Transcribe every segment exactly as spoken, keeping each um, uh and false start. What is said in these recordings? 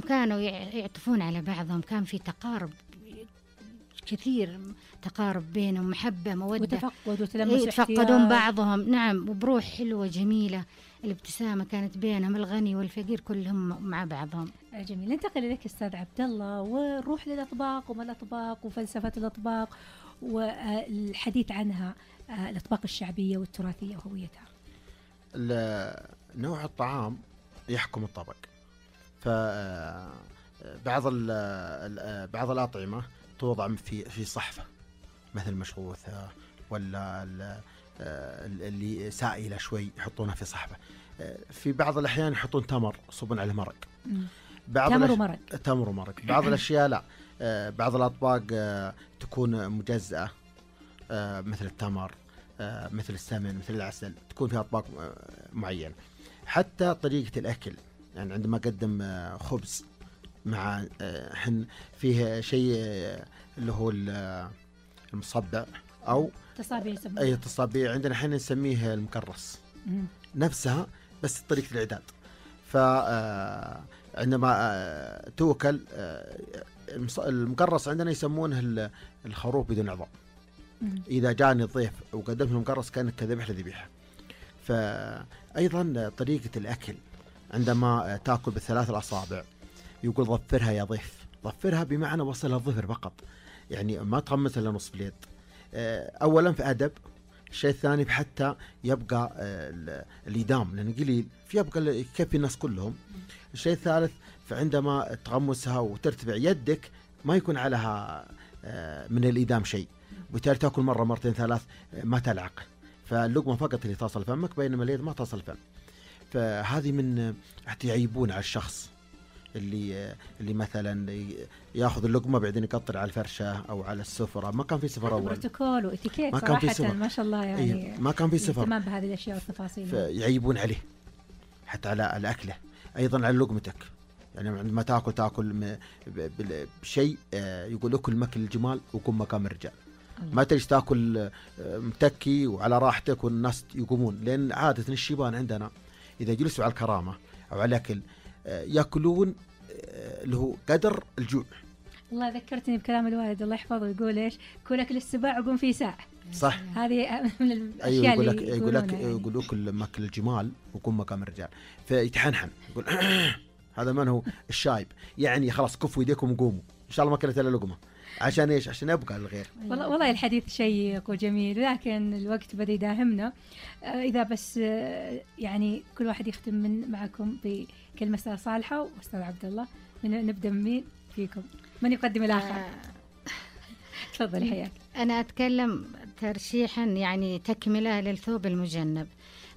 وكانوا يعطفون على بعضهم، كان في تقارب كثير، تقارب بينهم، محبة مودة وتفقد وتلمس، يتفقدون بعضهم. نعم، وبروح حلوة جميلة، الابتسامة كانت بينهم، الغني والفقير كلهم مع بعضهم. جميل. ننتقل إليك أستاذ عبد الله ونروح للأطباق وما الأطباق وفلسفة الأطباق والحديث عنها، الأطباق الشعبية والتراثية وهويتها. نوع الطعام يحكم الطبق. فبعض بعض الأطعمة توضع في في صحفة مثل مشغوثة ولا اللي سائلة شوي يحطونها في صحفة. في بعض الأحيان يحطون تمر يصبون عليه مرق. بعض تمر ومرق. تمر ومرق. بعض الأشياء لا، بعض الأطباق تكون مجزأة مثل التمر، مثل السمن، مثل العسل، تكون فيها أطباق معينة. حتى طريقة الأكل، يعني عندما أقدم خبز مع حن فيه شيء اللي هو المصبع أو تصابيع، أي تصابيع عندنا حين نسميه المكرس مم. نفسها، بس طريقة الإعداد. فعندما توكل المكرس عندنا يسمونه الخروف بدون عظام. إذا جاني الضيف وقدمت المكرس كان كذبح لذبيحة. فأيضا طريقة الأكل عندما تأكل بالثلاث الأصابع يقول ظفرها يا ضيف. ظفرها بمعنى وصلها الظفر فقط، يعني ما تغمس إلا نصف اليد. أولا في أدب، الشيء الثاني حتى يبقى الإدام لأنه قليل، في يبقى يكفي الناس كلهم. الشيء الثالث فعندما تغمسها وترتفع يدك ما يكون عليها من الإدام شيء، وبالتالي تأكل مرة مرتين ثلاث ما تلعق، فاللقمة فقط اللي تصل فمك بينما اليد ما تصل فم. فهذه من يعيبون على الشخص اللي اللي مثلا ياخذ اللقمه بعدين يقطر على الفرشه او على السفره. ما كان في سفر اول، بروتوكول واتيكيت صراحه ما شاء الله، يعني ما كان في سفر، اهتمام بهذه الاشياء والتفاصيل، فيعيبون عليه حتى على الاكله. ايضا على لقمتك، يعني عندما تاكل تاكل بشيء يقول اكل مكل الجمال وقم مقام الرجال. ما تجلس تاكل متكي وعلى راحتك والناس يقومون، لان عاده الشيبان عندنا اذا جلسوا على الكرامه او على الاكل ياكلون اللي هو قدر الجوع. والله ذكرتني بكلام الوالد الله يحفظه، يقول ايش؟ كل اكل السباع وقوم في ساعه. صح، هذه من الاشياء أيوة يقول لك اللي يقول لك يعني. يقول اكل مكل الجمال وقوم مقام الرجال، فيتحنحن يقول هذا من هو الشايب، يعني خلاص كفوا يديكم وقوموا ان شاء الله ما اكلت الا لقمه. عشان ايش؟ عشان يبقى الغير. والله والله الحديث شيق وجميل، لكن الوقت بدا يداهمنا. آه اذا بس آه يعني كل واحد يختم من معكم بكلمه استاذ صالحه واستاذ عبد الله. من نبدا مين فيكم؟ من يقدم الاخر؟ آه تفضل حياك. انا اتكلم ترشيحا يعني تكمله للثوب المجنب،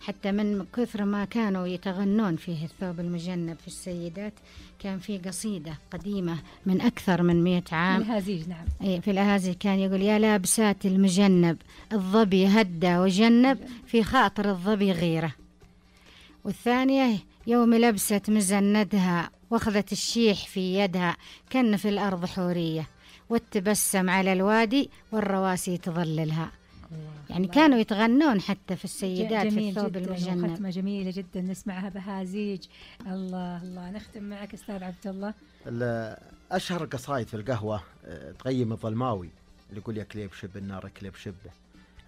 حتى من كثر ما كانوا يتغنون فيه الثوب المجنب في السيدات، كان في قصيدة قديمة من أكثر من مئة عام. الهازيج نعم. أي في الأهازيج كان يقول يا لابسات المجنب الظبي هدى وجنب في خاطر الظبي غيرة. والثانية يوم لبست مزندها واخذت الشيح في يدها كن في الأرض حورية والتبسم على الوادي والرواسي تظللها. يعني كانوا يتغنون حتى في السيدات في الثوب المجنب. ختمة جميلة جدا نسمعها بهازيج. الله الله. نختم معك أستاذ عبد الله. أشهر قصائد في القهوة تغيم الظلماوي اللي يقول يا كليب شب النار كليب شبه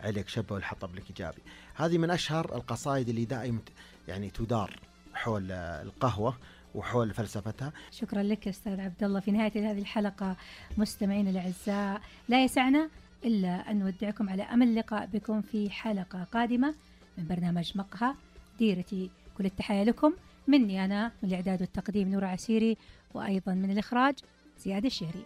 عليك شبه والحطب لك إيجابي. هذه من أشهر القصائد اللي دائما يعني تدار حول القهوة وحول فلسفتها. شكرا لك أستاذ عبد الله. في نهاية هذه الحلقة مستمعين الأعزاء لا يسعنا إلا أن نودعكم على أمل اللقاء بكم في حلقة قادمة من برنامج مقهى. ديرتي كل التحية لكم مني أنا من الإعداد والتقديم نور عسيري، وأيضا من الإخراج زياد الشهري.